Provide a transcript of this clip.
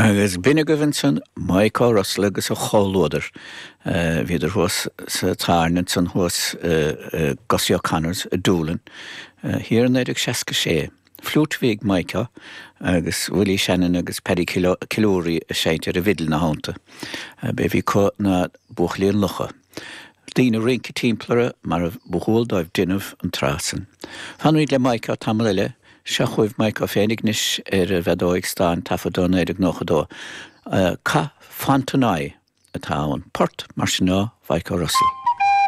Agus b'in agaibh ansan Micah Russell agus a chomhluadar. Bhíodar thuas sa tábhairne ansan thuas i Gussie O'Connor's i Doolin thiar i 1966. Fliúit a bhí ag Micah agus Willie Shannon agus Paddy Killourhy ag seinnt ar an bhfidil ina theannta. B'é a bhí acu ná Buachaillí an Locha. Daoine ag rince timpeall orthu mar a ba dhual dóibh déanamh an tráth san. Fanfaimid le Micah tamall eile. Seo chugaibh Micah féinig anois ar an bhfeadóig stáin taifeadta 1992. Cath Fontenoy atá ann. Port mar sin ó Mhicah Russell.